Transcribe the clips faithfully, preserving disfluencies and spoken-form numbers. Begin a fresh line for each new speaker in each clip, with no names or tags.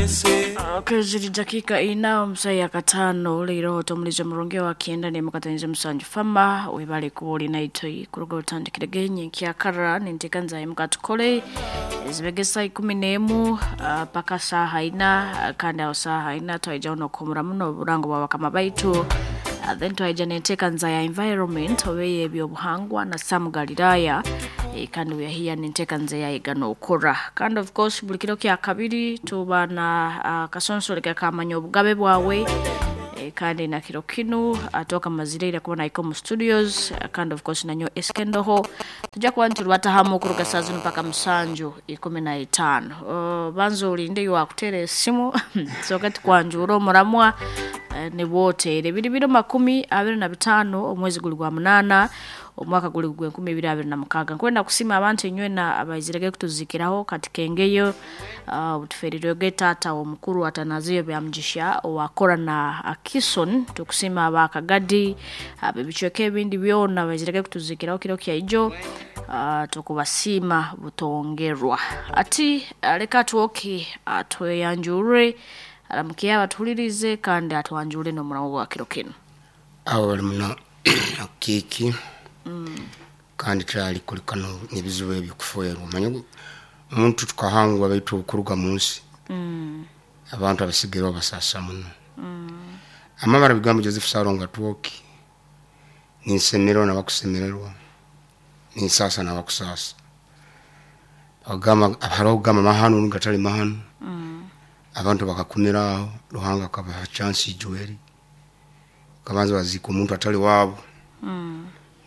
Keziri dakika ina omusaya katano leero tomulize murungi wa kienda ne mukatanize musanju fama webale kuoli naitoi kuruga utandikire genye nkyakara nintekanza mukatukole ezibegesa ikumi n'emu uh, paka saha ina uh, kandi aho saha ina twaija unokumura muno oburango bwa bakama baitu uh, then twaija nentekanza ya environment obeye ebyobuhangwa na Sam Galilaya e, kandi we are here nentekanza ya igano okora kandi of course buli kiro kya kabiri tuba na uh, kasonsoleka kamanya obugabe bwawe e, kandi na kiro kinu atoka mazireira kubona iko mu studios kandi of course nanyo eskendoho tujja kuba nturubatahamu kuruga saa zino paka musanju ikumi na itaano uh, banza olinde yoakutera esimu soka tukwanjura omuramwa uh, ne bwotere biri biro makumi abiri na bitaano omwezi guli gwa munana omwaka guli gwe nkumi ibiri abiri na mukaga nkwenda kusima abantu enywena abaizirege kutuzikiraho kati kengeyo uh, obutuferirwege taata omukuru Atanaziyo Byamugisha owakora na Akison tukusima abakagadi ab'ebicweka ebindi byona abaizirege kutuzikiraho kiro kyaijo uh, tukubasiima butongerwa ati uh, leka twoke atweyanjure aramukiye abatuhulirize kandi atwanjure n'omuramu gwa kiro kino.
Abo bali muno kiki kandi kyali kulikano n'ebizibu ebyokufuerwa omanye omuntu tukahangwa baitu okuruga mu nsi abantu abasigaire basasa muno. Amabara bigambo Joseph Saronga Twoki ninsemererwa nabakusemererwa ninsasa nabakusasa agamba hariho okugamba mahanu gatali mahanu abantu bakakumira aho Ruhanga akabaha chance ijweri kabanza bazika omuntu atali waabo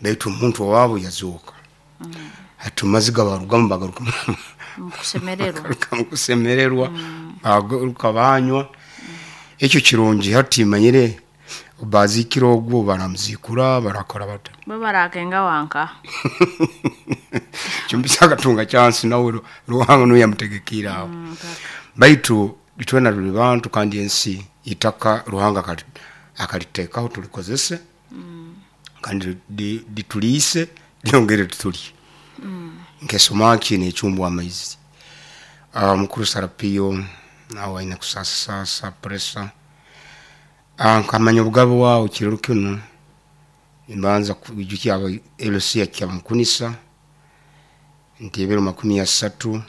baitu omuntu owaabo yazuuka hati maziga barugamu bagaruka
mukusemererwa
bagaruka mukusemererwa bagaruka banywa ekyo kirungi hati manyire bazikira ogwo baramuzikura barakora bata
bo barakenga wanka
kyumbisa akatunga chance nawe Ruhanga niwe yamutegekire aho baitu itwena tuli bantu kandi ensi itaka Ruhanga akali- akaliteekaho tulikozese kandi di- dituliise lyongere tutulye nkesomaki nechumbwa amaizi. uh, mukuru Sarapiyo nawe aine kusasasasa presa uh, nkamanya obugabe wawe kirero kinu mbanza kwijukia aba L C ya Kyamukunisa nti ebiro makumi asatu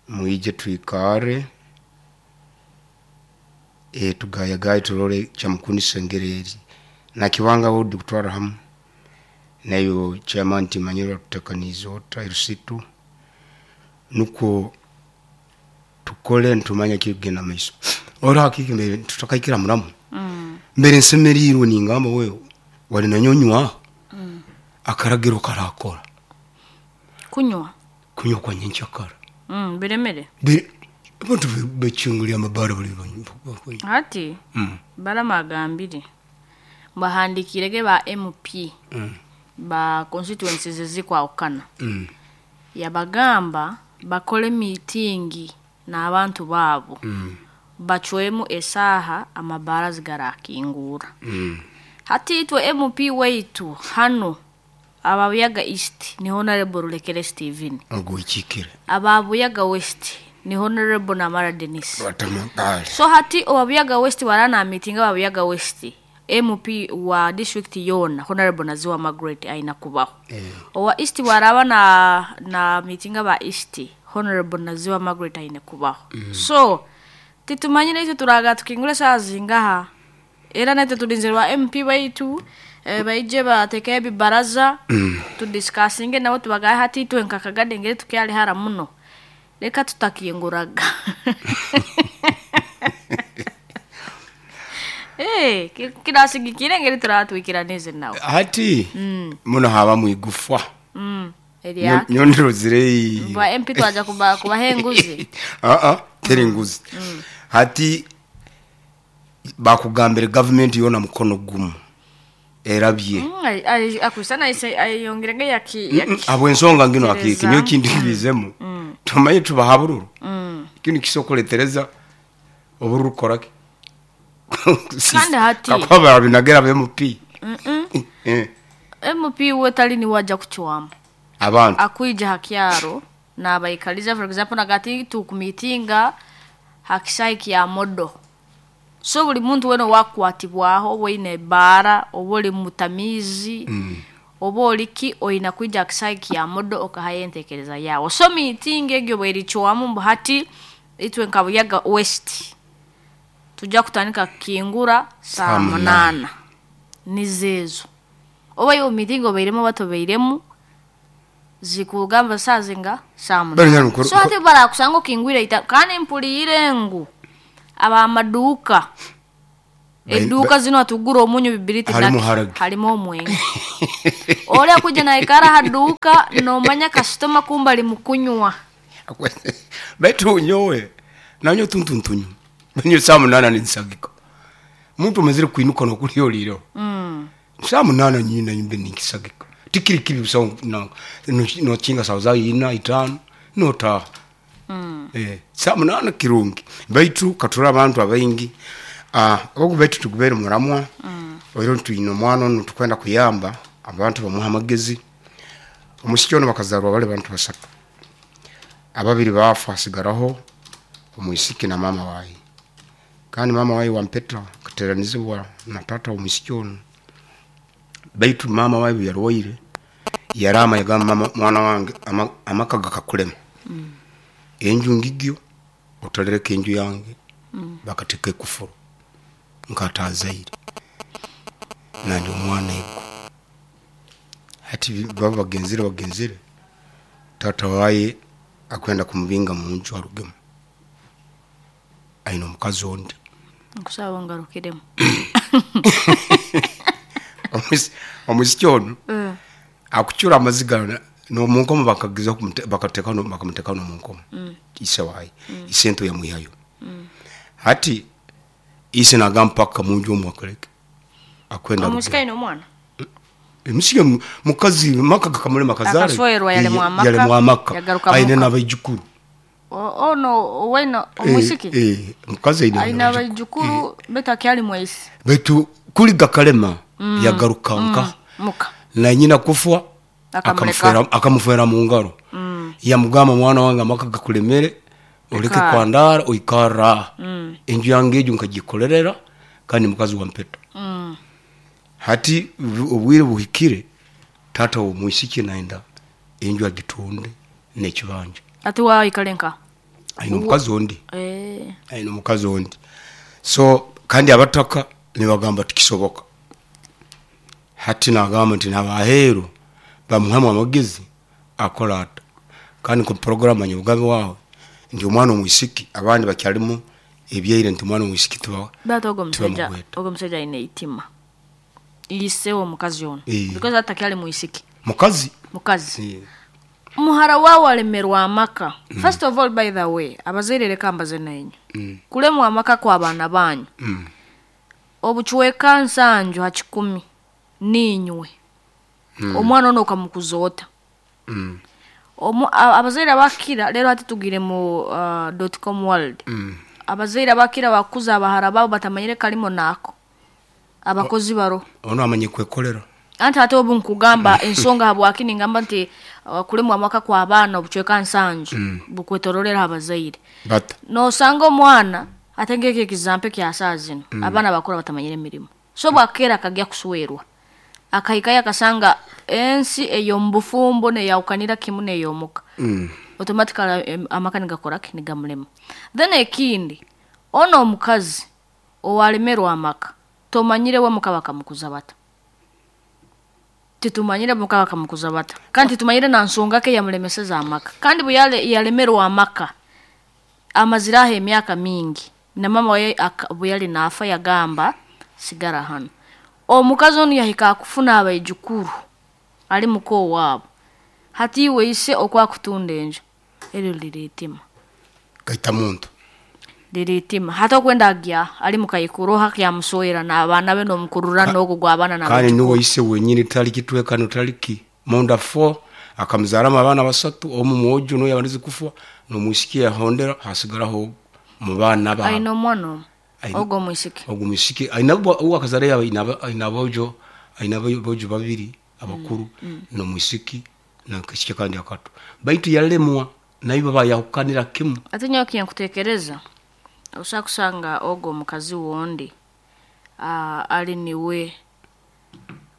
mwije twikare e, tugayagaye turore Kyamukunisa engeri na kibanga wodi kutwara hamu nayo chairman timanyira tutekaniza ota erusitu nuko tukole ntumanya kigenda maiso ora hakiki mbere tutakaikira muramu mbere nsemerirwe ningamba wewe wali nanyonywa akaragiro karakora
kunywa
kunywa kwa nyenchakara
mm, biremere
Be- abantu bechungulia amabara bali banywa
hati
mm.
baramagambire bahandikirege ba M P
mm.
ba constituencies ezikwawukana
mm.
yabagamba bakole miitingi n'abantu baabo
mm.
bacwemu esaaha amabara zigarakingura.
mm.
Hati itwe M P waitu hano ababuyaga East ni Honorable Rulekere Steven.
Ogwikikire.
Ababuyaga West ni Honorable Namara Denis.
Batamakale.
So hati owabuyaga West warana miitingi ababuyaga West, M P wa district yona Honorable Naziwa Margaret aina kubaho.
Eh.
Owa East waraba na na miitingi aba East, Honorable Naziwa Margaret aine kubaho mm. So titumanyire itwe turaga tukingura saa zingaha era naitwe tulinzirwa M P baitu eh, baije bateke ebibaraza mm. tudiscussinge nabo tubagaye hati itwe nkakagade ngere tukyali hara muno reka tutakinguraga. Eh, ki- kirasigikire ngeri turatwikiranize nawe.
Hati muno haba mwigufwa.
Mm. Erya
Nyondirozire.
Ba M P twaja kuba kubaha enguzi.
Aa, teri nguzi hati bakugambire gavumenti yona mukono gumu erabye.
Mm, ai- ai- akusana ise ayongerege yaki yaki
Habwensonga ngino
Tereza.
akiki niyo kindi bizemu tumaye tubaha bururu kino kisokoletereza obururu koraki.
Kandi hati-
kakuba babinagera ba M P. Eh,
M P we tali ni waja kuchwamu
abantu
akwija hakyaro nabaikaliza, for example nagati tukumitinga Hakisai kya modo. So buli muntu wena wakwatibwaho oba oine ebbaara oba oli mutamiizi
Mm.
oba oliki oina kwija hakisai kya modo okahayo entekereza yawe. So meeting egyo bwericwamu mbu hati itwe nka Buyaga West tujja kutandika kukingura saa
Saa munaana.
munaana nizeezo oba iwe meeting obairemu oba tobairemu zikugamba saa zinga saa
Bari
munaana.
nyarukuru-
So hati barakusanga okingwire ita kandi mpuliire ngu abamaduuka
Ba-
eduuka zino atugura omunyu bibiriti
Harimu
naki,
haragi.
harimu omwenge oli akuja naikara haduuka nomanya kasitoma kumba ali mukunywa.
Baitu nyowe nanyo tuntuntunyu nyo saa munana ninsagika muntu amazire kwinuka nokulya olireho
mm.
saa munana nyina nyumbe ninkisagika tikiri kibi busa na- no- nokinga sawa za ina itano notaha.
Mm.
Eh, saa munana kirungi baitu katura abantu abaingi ah, ogu baitu tugubere muramwa mm. Oiro twine omwana onu tukwenda kuyamba abantu bamuha amagezi. Omusiki ono bakazarwa bali bantu basatu, ababiri bafa hasigaraho omwisiki na mama wayi. Kandi mama wayi wampeta akateranizibwa na tata omwisiki ono, baitu mama wayi bwe yarwaire yarama yagamba mama mwana wange ama, amaka gakakulema mm. Enju ngigyo otalereka enju yange mm. Bakateka ekufuru nkatazaire nandi omwana ego. Hati baba bagenzire bagenzire tata waye akwenda kumubinga munju arugemu aina omukazi ondi.
Nkusaba ngarukiremu.
Omwisi- omwisiki ono
Mm.
akucura amaziga nomunkomo bakagiza kumute- bakateka no- bakamuteka nomunkomo ise waye ise nto yamwihayo. Hati ise nagamba paka munju omu akoleke akwenda
Omusiki
arugemu.
aine omwana
Emusige mu- mukazi maka gakamulema kazare
Akaswerwa yalemwa amaka,
yalemwa amaka
yagaruka
aine
muka.
n'abaijukuru.
O- ono wena omwisiki
Eh, eh, mukazi aine
aine
n'abaijukuru.
abaijukuru betu akyali mwaisi.
Baitu kuli gakalema yagaruka nka
muka
na nyina kufwa
Akamuleka.
akamufera akamufera mu ngaro yamugamba mwana wange amaka gakulemere oleke
Ikara.
kwandara oikara enju yange egyo nkagikolerera kandi mukazi wa mpeta.
Mm.
Hati obu- obwire buhikire tata womwisiki naenda enju agitunde nekibanja.
Ati waikale nka
Aine omukazi ondi.
Eh.
Aine omukazi ondi. So kandi abataka nibagamba tikisoboka. Hati nagamba nti nabaheru bamuhamu amagezi akola ata kandi ku program nyobugabe wawe nti omwana omwisiki abandi bakyalimu ebyaire nti omwana omwisiki tuba
Batu ogwo musajja
tibamugweta.
ogwo musajja aine eitima ise omukazi ono
Eh.
because ati akyali mwisiki
mukazi
mukazi
Eh,
muhara wawe alemerwa amaka. First of all, by the way, abazaire leka mbaze nainyu
mm,
kulemwa amaka kwa abaana banyu
mm,
obucweka nsanju ha kikumi niinywe omwana ono okamukuza ota.
mm,
Omu- a- abazaire abakira leero hati tugire mu uh, dot com world.
mm.
Abazaire abakira bakuza abahara babo batamanyire kalimo naako abakozi baro.
Ono amanye kwekolera.
Anti ate obu nkugamba ensonga habwaki ningamba nti uh, kulemwa amaka kwa abaana obucweka nsanju bukwetorolera abazaire.
Bata
Nosanga omwana ate ngekyo ekizampe kya saa zino abaana bakura batamanyire emirimu. So bwakeera akagya kuswerwa akahikayo akasanga ensi ey'omubufumbo neyawukanira kimu ney'omuka
mm.
automatically em, amaka nigakoraki nigamulema. Then ekindi ono omukazi owalemerwa amaka tomanyire we muka bakamukuza bata, titumanyire muka bakamukuza bata kandi titumanyire na nsonga ke yamulemeseza amaka. Kandi bwe yale- yalemerwa amaka amaziraho emyaka mingi na mama we aka- bwe yali naafa yagamba sigara hano. Omukazi onu yahika akufuna abaijukuru ali muko waabo hati iwe ise okwakutunda enju eryo liriitima.
Gaita muntu.
Liriitima hati okwenda agya ali mukaikuru hakyamuswera n'abaana be n'omukurura n'ogwo gw'abaana
Kandi
n'abaijukuru.
niwe ise wenyini tali kitwekano taliki munda four akamuzaramu abaana basatu omu mwojo noyo abanize kufa nomwisiki yahondera hasigaraho mu baana ba
Aine omwana omu
Aine-
ogwo omwisiki.
Ogwo mwisiki aina uwo akazara yawe aina aina bojo aina bojo babiri abakuru nomwisiki nakishike kandi akato baitu yalemwa nayo baba yahukanira kimu.
Ate nyowe kinkutekereza Osobola kusanga ogwo omukazi wondi ah, ali niwe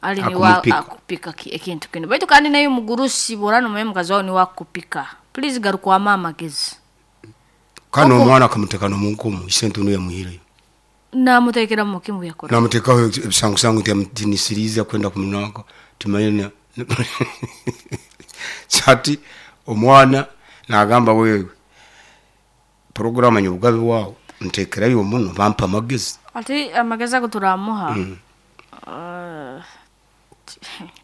ali niwe
Akumupika.
akupika ki- ekintu kino baitu kandi naye omugurusi bwora nomanya omukazi wawe niwe akupika please garukwamu amagezi.
Kandi
Oko-
omwana akamuteka nomunkumu isente niyo yamuhireyo.
Namutekera mukimu yakora.
Namutekaho ebisangusangu nti yamutinisiriza kwenda kumunaka timanye ati omwana nagamba wewe poroguramu nyobugabe wawe ntekerayo muno bampa amagezi.
Ati amagezi ago turamuha. Ah,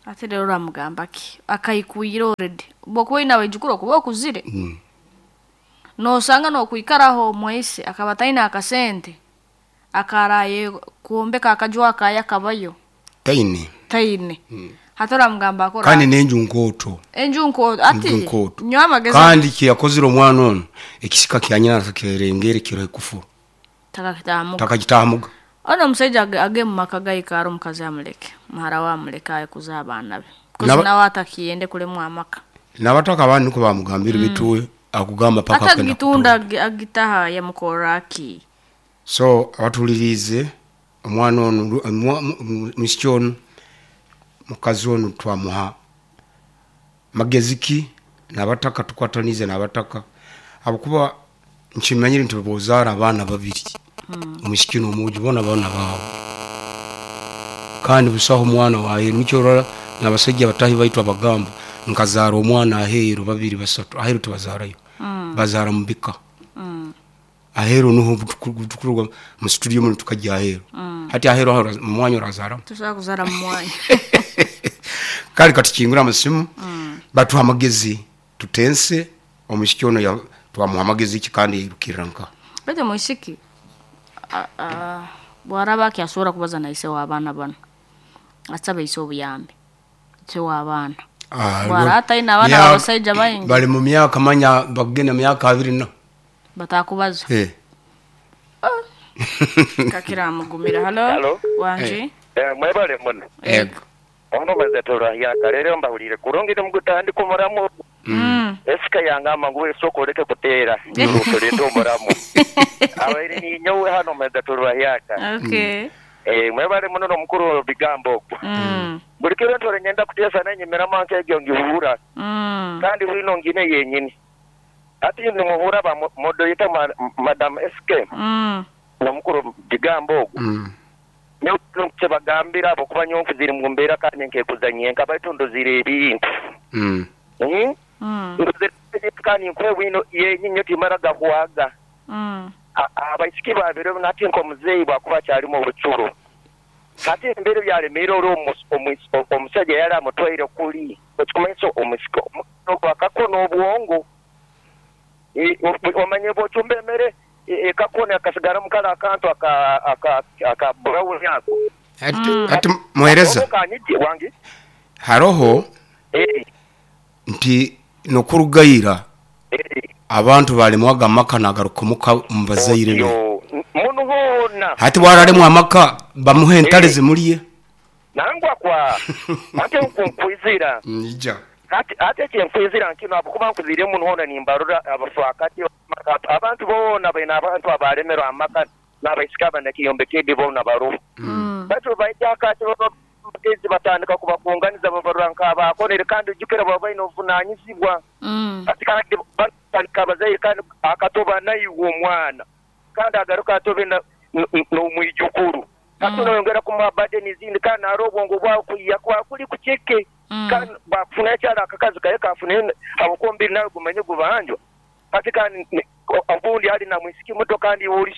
ati rero uramugamba ki akayikwira already bwokuba oyine abaijukuru okuba okuzire
Mm.
nosanga nokwikaraho omwaise akaba taine akasente akaraye kwombeka akaju akaya kabayo.
Taine.
Taine hati oramugamba akora.
Kandi nenju nkooto.
Enju nkoto ati.
Enju nkooto.
Nyowe amagezi.
Kandi kiyakozire omwana ono ekisika kyanyina kirengere kiro ekufuru.
Takakitamuga.
Takagitamuga.
Ono omusajja age- age mu maka gaikara omukazi amuleke muhara we amuleke ayekuza abaana be kozi
Naba-
nawe atakiyende kulemwa amaka.
Nabataka abandi niko bamugambire bituwe akugamba paka
ate
akenda
agitunda
kutonda.
agi- agitaha yamukorra ki.
So abatulirize omwana ono lu- omwa- mu- mu- musiki ono mukazi ono twamuha magezi ki nabataka tukwatanize nabataka abakuba nkimanyire nti bozaara abaana babiri omusiki nomugi bona baana baabo kandi busaho omwana waheru nikyo orora nabasajja batahi baitu abagamba nkazaara omwana aheru babiri basatu aheru tibazarayo bazaara mubika aheru nuho tukuruga mu studio muno tukajya aheru hati aheru aho mu mwanya orazaramu.
Tosobola kuzaara mu mwanya.
Kale katukingura amasimu batuha amagezi tutense omusiki ono ya- twamuha amagezi ki kandi yairukirira nka.
Baitu omwisiki a- a- bwaraba akyasobora kubaza naise w'abaana bano asabe ise obuyambi ise w'abaana.
Ah,
Bwara ataine abaana
mya-
babasaija baingi.
Bali mu myaka manya bagenda myaka abiri na
batakubaza.
Eh.
Kakira amugumira halo.
Halo.
Wangi.
Eh, mwebale muno.
Ego.
Ono maze turahya rero mbahulire kurungi nimugutandika omuramu.
Mm.
Esika yangamba ngu esoko oleke kuteera tulete omuramu abaire ninyowe hano maze turwahyaka.
Okay.
Eh, mwebale muno nomukuru bigambo okwo.
Mm.
Buli kiro ntore nyenda kuteesa nenyimiramu nkegyo ngihura.
Mm.
Kandi bwino ngine yenyini ati nimuhura ba modoyita madam S K
Mm.
nomukuru bigambo ogwo.
Mm.
Kyebagambira abo kuba nyonfu ziri mu mbeera kandi nkekuzanyenka baitu ndozire ebintu.
Mm.
Mm?
Mm.
Ndozire ebintu kandi nkwe bwino yenyinyo timara gahwaga.
Mm.
A- abaisiki babiri nati nkomuzeeyi bwakuba akyalimu obucuro kati embeera byalemere oli omu- omu- omusajja yali amutwaire kuli ekikumanyisa omusika akakona obwongo. E, o- omanye bwocumba emere e- ekakona akasigaramu kale akantu aka- aka aka brown ako.
Ati ati muhereza.
Kanyigi wange.
Haroho
Eh,
nti nokurugayira
eh,
abantu balemwaga amaka nagaruka muka mu bazaire be.
Yo, muno hoona.
Hati bwaralemwa amaka bamuhe entale
Eh.
zimulye.
Nangwa kwa ate nkunkwizira.
Nija.
Ate ate kyenkwizira nkino abo kuba nkuzire muno hoona nimbarora abafaakati abantu boona baina abantu abalemerwa amaka n'abaisika abanakiyombekedde boona baroho.
Mm.
Batu baija akati bagezi batandika kubakunganiza babarora nk'abakonere kandi ojjukira baba baine obuvunanyizibwa.
Mm.
Ati kandi batandika abazaire kandi akatoba naiwe omwana kandi agaruka atobe na- n- n- n'omwijukuru kati
Mm.
noyongera kumuha badeni ezindi kandi nari obwongo bwawe kuyiya kwawe kuli kuceke.
Mm.
Kandi bwakufuna ekyalo akakazi kaye kafune abukumbiri nawe gumanye gubanjwa kati kandi ne- o- obundi ali na mwisiki muto kandi oli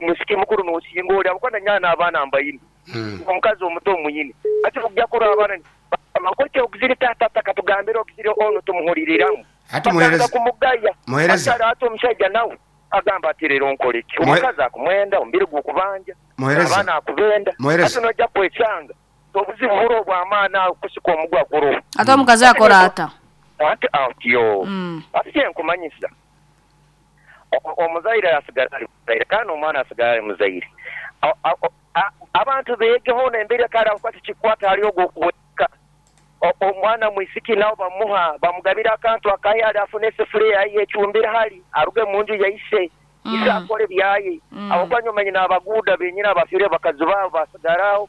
mwisiki mukuru nosinga oli abukwana nyana abaana mbayini.
Mm.
Omukazi omuto omuyini ati okujja kuraba abaana amakote okuziri tata katugambire okuziri ono tumuhuliriramu.
Ati muhereza.
Batandika kumugaya.
Muhereza.
Ati ate omusajja nawe agamba ati leero nkole ki
Muhe-
omukazi akumwenda omubiri gwokubanja
Muhereza.
abaana akubenda.
Muhereza.
Ati nojja kwesanga obuzibu buro obw'amaani awo kusika omugwa guroho.
Ate omukazi akora ata.
Ati atyo.
Mm.
Ati kyenkumanyisa O- omuzaire asigala ali muzaire kandi omwana asigala ali muzaire. A- a- a- abantu beegeho nembeera kale akwati kikwata hali ogwo okuweka omwana mwisiki nawe bamuha bamugabira akantu akaye ali afune esefuriya yaye ecumbire hali aruge mu nju yaise.
Mm.
Isa akole byaye.
Mm.
Abo nyuma nyina abaguda benyina abafire bakazi babo basigaraho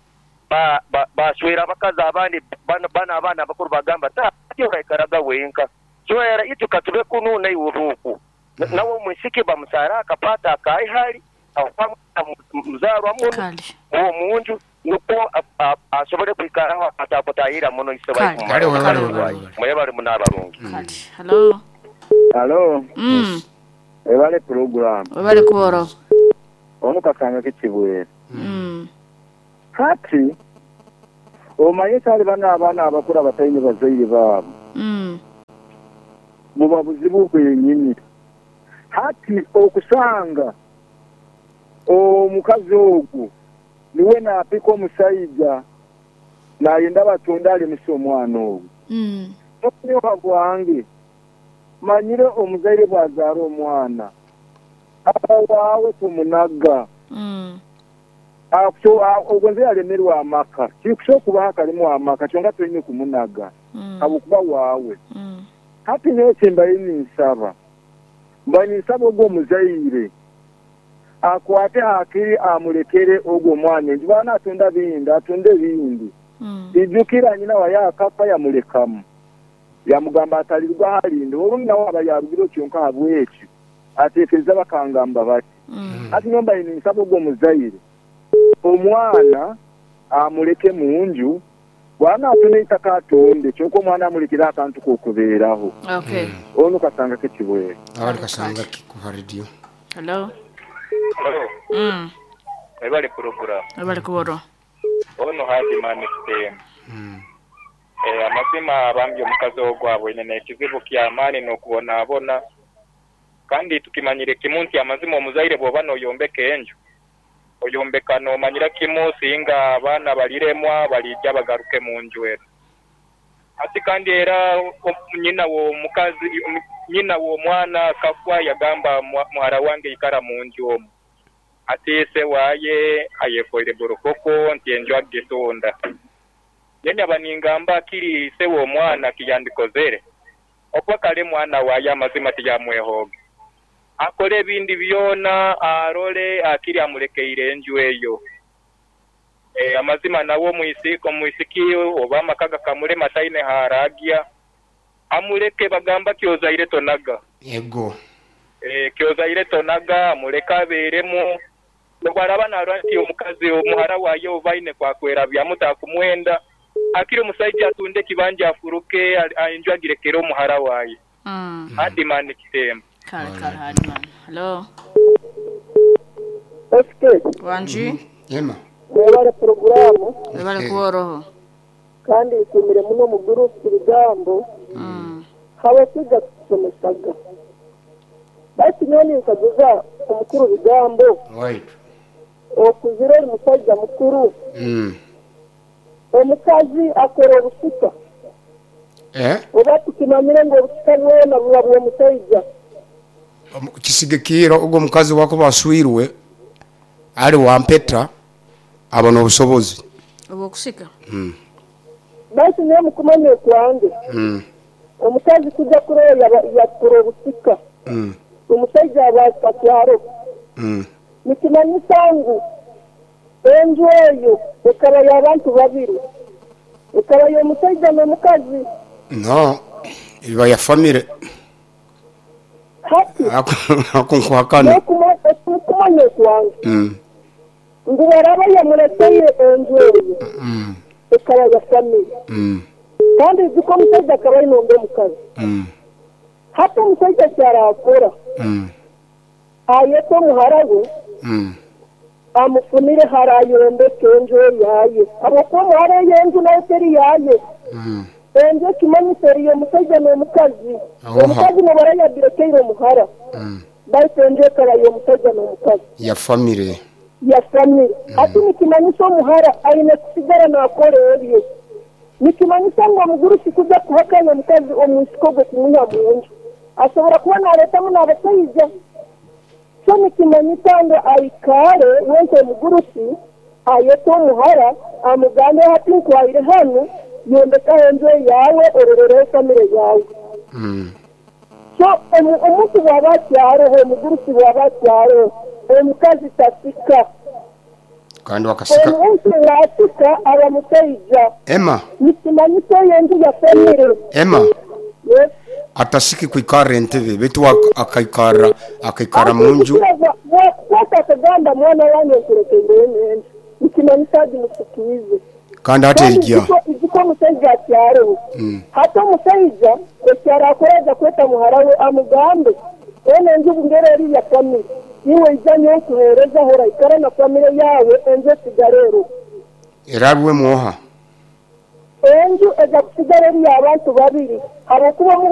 ba ba baswera bakazi abandi bana bana abana abakuru bagamba ta uraikaraga wenka. Swera itu katube kunu na iwuruku. Mm. Nawe mwisiki bamusara akapata akaihali aho muzarwa muno
Kale.
uwo munju nuko asobole kwikaraho atakotayira muno
Kale.
isobaye.
Kale, webale, webale.
Mwebale munabarungi.
Kale. Hello.
Hello,
Mm.
ebale program.
Webale kuboro.
Ono kasanga kikibwere.
Mm.
Kati omanye kale bano abaana abakula bataine bazaire baabo.
Mm.
Buba buzibu bwennyini. Hati okusanga omukazi ogwo niwe naapika omusajja nayenda batunda alemesa omwana ogwo.
Mm.
Okunyoka gwange manyire omuzaire bw'azaala omwana aba waawe tumunaga.
Mm.
Ogwo nze yalemerwa amaka kikusobola okuba akalimu amaka kyonka tolina kumunaga
Mm.
habwokuba waawe.
Mm.
Hati nyowe mbaire ninsaba mbaire ninsaba ogwo omuzaire akwate hakiri amulekere ogwo omwana enju baana atunda bindi atunde bindi.
Mm.
Ijukira nyina waye akapa yamulekamu yamugamba atalirwa halinde olwo nawe aba yarugire kyonka habwekyo ateekereza bakangamba bati.
Mm.
Hati nyowe mbaire ninsaba ogwo omuzaire omwana amuleke mu nju bwana atunda eitaka atonde kyonka omwana amulekere akantu k'okubeeraho.
Okay.
Ono kasanga kekibwere.
Awali kasanga kuva radio.
Hello.
Hello.
Mm.
Ebale program.
Webale kuboro.
Ono hadi mani kitemu.
Mm.
Eh, amazima abambye omukazi ogwabwe nene ekizibu ky'amaani n'okubonaabona kandi tukimanyire kimu nti amazima omuzaire bw'oba n'oyombeka enju oyombeka n'omanyira kimu singa abaana baliremwa balijja bagaruke mu nju eno. Ati kandi era nyina w'omukazi nyina w'omwana kafwa yagamba muhara wange ikara mu nju omu ati ese waye ayefoire borokoko nti enju agitonda. Yenya baningamba kiri se w'omwana kiyandikozere okwa kale mwana waye amazima tiyamwehoge akole ebindi byona arole akiri amulekeire enju eyo. E, amazima nawo mwisiko mwisiki oba amakaga kamulema taine haragia amuleke bagamba kyozaire tonaga.
Ego.
E, kyozaire tonaga amuleka abeeremu nobwaraba narwa nti omukazi omuhara waye obaine kwakwera byamutakumwenda akiri omusajja atunde kibanja afuruke enju agirekere omuhara waye.
Mm.
Hadi mani kitemba.
Kale kale hadi mani. Hello.
S K.
Wanji.
Yema.
Webale programu.
Webale kuboroho.
Kandi ikumire muno mu gurupu bigambo.
Mm.
Hawe kwiga kusomesaga. Basi nyoni nkaguza omukuru bigambo.
Right.
Okuzira eri musajja mukuru.
Mm.
Omukazi akora obusuka.
Eh?
Oba tukimanyire ngu obusuka bwona buba bw'omusajja.
Kisigikira ogwo omukazi wako baswirwe ali wampeta abona obusobozi
obwokusika.
Mm.
Basi niyo mukumanya okwange.
Mm.
Omukazi kujja kuroya yakora obusika.
Mm.
Omusajja aba atwaro.
Mm.
Nikimanyisa ngu enju eyo ekaba y'abantu babiri. Ekaba y'omusajja n'omukazi.
No, iba ya famire.
Hati.
Akunkwakana.
N'okumanya okwange.
Mm.
Ngu baraba yamuleteye enju eyo.
Mm.
Ekaba ya famire.
Mm.
Kandi nziko omusajja akaba aine omukazi.
Mm.
Hati omusajja kyarakora.
Mm.
Ayete omuhara we.
Mm.
Amufunire harayombeka enju yaye. Habwokuba omuhara ey'enju nayo teri yaye.
Mm.
Enju ekimanyisa eriyo omusajja n'omukazi.
Oha.
Omukazi nobara yagirekeire omuhara.
Mm.
Baitu enju ekaba y'omusajja n'omukazi.
Ya famire.
Ya famire. Hati nikimanyisa omuhara aine kusigara naakora ebyo. Nikimanyisa ngu omugurusi kuja kuhakanya omukazi omwisiko gwe kumuha mu nju. Asobora kuba naaretamu n'abashaija. So nikimanyisa ngu aikare wenka omugurusi ayete omuhara amugambe hati nkwahire hanu yombekaho enju yawe ororereho famire yawe.
Mm.
So omu- omuntu bw'aba akyaroho, omugurusi bw'aba akyaroho, omukazi tasika.
Kandi wakasika.
Omuntu bw'asika aba musaija.
Emma.
Nikimanyisa eyo enju ya famire.
Emma.
Yes.
Atasiki kwikarra entebe, baitu ak- akaikarra akaikarra mu nju.
Bwakukwata akagamba, mwana wange, nkulekeire enju, nikimanyisa agimusikiize.
Kandi hati erigya.
Iziko omusaija akyaroho.
Mm.
Hati omusaija ekyarakora, aja kweta muhara we, amugambe, eno enju bungeri eri ya famire, iwe ija nyowe nkuheereza, hora ikara na famire yawe, enju esigara ero.
Erabiwe mwoha.
Enju eza kusigara eri y'abantu babiri, habwokuba omu